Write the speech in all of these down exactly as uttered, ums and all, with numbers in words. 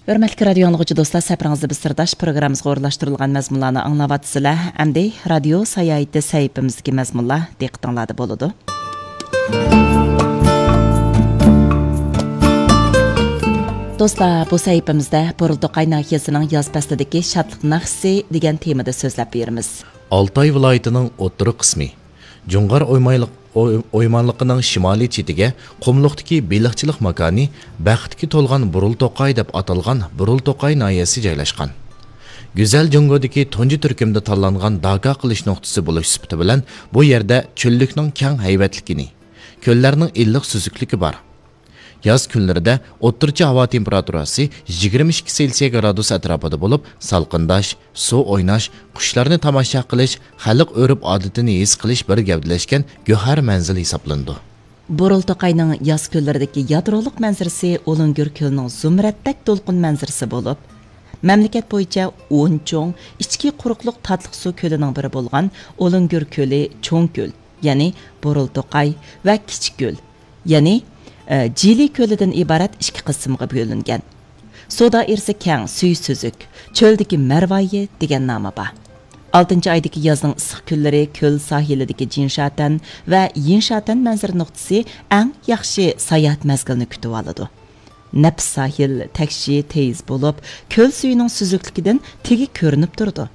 ھۆرمەتلىك رادىيو ئاڭلىغۇچى دوستلار، سەپىرىڭىزدە بىز سىرداش پروگراممىمىزغا ئورۇنلاشتۇرۇلغان مەزمۇنلارنى ئاڭلاۋاتىسىلەر. ئەمدى رادىيو ساياھىتى سەھىپىمىزدىكى مەزمۇنلار دىققىتىڭلاردا بولىدۇ. دوستلار، بۇ سەھىپىمىزدە بۇرۇلتوقاي ناھىيەسىنىڭ ياز پەسلىدىكى شادلىق ناخشىسى دېگەن تېمىدا سۆزلەپ بېرىمىز. ئالتاي ۋىلايىتىنىڭ ئوتتۇرا قىسمى، جۇڭغار ئويمايلىق-، ئوي-، ئويمانلىقىنىڭ شىمالىي چېتىگە قۇملۇقتىكى بېلىقچىلىق ماكانى بەختكە تولغان بۇرۇلتوقاي دەپ ئاتالغان بۇرۇلتوقاي ناھىيەسى جايلاشقان. گۈزەل جۇڭگودىكى تۇنجى تۈركۈمدە تاللانغان داكا قىلىش نۇقتىسى بولۇش سۈپىتى بىلەن بۇ يەردە چۆللۈكنىڭ كەڭ ھەيۋەتلىكىنى، كۆللەرنىڭ ئىللىق سۈزۈكلۈكى بار. ياز كۈنلىرىدە ئوتتۇرىچە ھاۋا تېمپېراتۇراسى يىگىرمە ئىككى سېلسىيە گرادۇس ئەتراپىدا بولۇپ، سالقىنداش، سۇ ئويناش، قۇشلارنى تاماشا قىلىش، خەلق ئۆرپ-ئادىتىنى ھېس قىلىش بىر گەۋدىلەشكەن گۆھەر مەنزىلى ھېسابلىنىدۇ. بۇرۇلتوقاينىڭ ياز كۈنلىرىدىكى يادرولۇق مەنزىرىسى ئۇلۇڭگۈر كۆلىنىڭ زۇمرەتتەك دولقۇن مەنزىرىسى بولۇپ، مەملىكەت بويىچە ئون چوڭ ئىچكى قۇرۇقلۇق تاتلىق سۇ كۆلىنىڭ بىرى بولغان ئۇلۇڭگۈر كۆلى چوڭ كۆل، يەنى بۇرۇلتوقاي ۋە كىچىك كۆل، يەنى، ئە، جىلى كۆلىدىن ئىبارەت ئىككى قىسىمغا بۆلۈنگەن. سۇ دائىرىسى كەڭ، سۈيى سۈزۈك، چۆلدىكى مەرۋايى دېگەن نامى بار. ئالتىنچى ئايدىكى يازنىڭ ئىسسىق كۈنلىرى كۆل ساھىلىدىكى جىنشاتەن ۋە يىنشاتەن مەنزىرە نۇقتىسى ئەڭ ياخشى ساياھەت مەزگىلىنى كۈتۈۋالىدۇ. نەپىس ساھىل، تەكشى، تېيىز بولۇپ، كۆل سۈيىنىڭ سۈزۈكلۈكىدىن تېگى كۆرۈنۈپ تۇرىدۇ.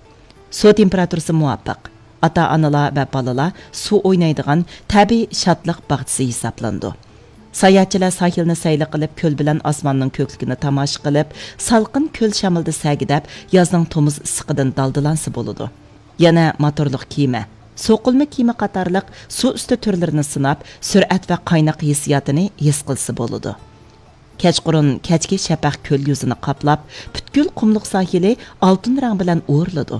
سۇ تېمپېراتۇرىسى مۇۋاپىق. ئاتا-ئانىلار ۋە بالىلار سۇ ئوينايدىغان تەبىئىي شادلىق باغچىسى ھېسابلىنىدۇ. ساياھەتچىلەر ساھىلنى سەيلە قىلىپ، كۆل بىلەن ئاسماننىڭ كۆكلۈكىنى تاماشا قىلىپ، سالقىن كۆل شامىلىدا سەگىدەپ، يازنىڭ تومۇز ئىسسىقىدىن دالدىلانسا بولىدۇ. يەنە موتورلۇق كېمە، سوقۇلما كېمە قاتارلىق سۇ ئۈستى تۈرلىرىنى سىناپ، سۈرئەت ۋە قايناق ھېسسىياتىنى ھېس قىلسا بولىدۇ. كەچقۇرۇن كەچكى شەپەق كۆل يۈزىنى قاپلاپ، پۈتكۈل قۇملۇق ساھىلى ئالتۇن رەڭ بىلەن ئورىلىدۇ.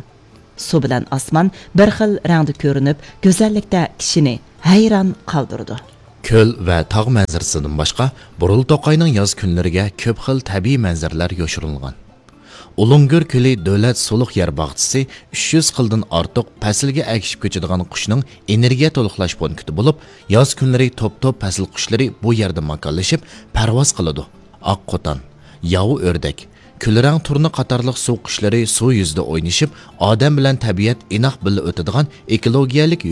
سۇ بىلەن ئاسمان بىر خىل رەڭدە كۆرۈنۈپ، گۈزەللىكتە كىشىنى ھەيران قالدۇرىدۇ. كۆل ۋە تاغ مەنزىرىسىدىن باشقا، بۇرۇلتوقاينىڭ ياز كۈنلىرىگە كۆپ خىل تەبىئىي مەنزىرىلەر يوشۇرۇنغان. ئۇلۇڭگۈر كۆلى دۆلەت سۇلۇق يەر باغچىسى ئۈچ يۈز خىلدىن ئارتۇق پەسىلگە ئەگىشىپ كۆچىدىغان قۇشنىڭ ئېنېرگىيە تولۇقلاش پونكىتى بولۇپ، ياز كۈنلىرى توپ-توپ پەسىل قۇشلىرى بۇ يەردە ماكانلىشىپ پەرۋاز قىلىدۇ. ئاق قوتان، ياۋا ئۆردەك، كۈلرەڭ تۇرنا قاتارلىق سۇ قۇشلىرى سۇ يۈزىدە ئوينىشىپ، ئادەم بىلەن تەبىئەت ئىناق بىللە ئۆتىدىغان ئېكولوگىيەلىك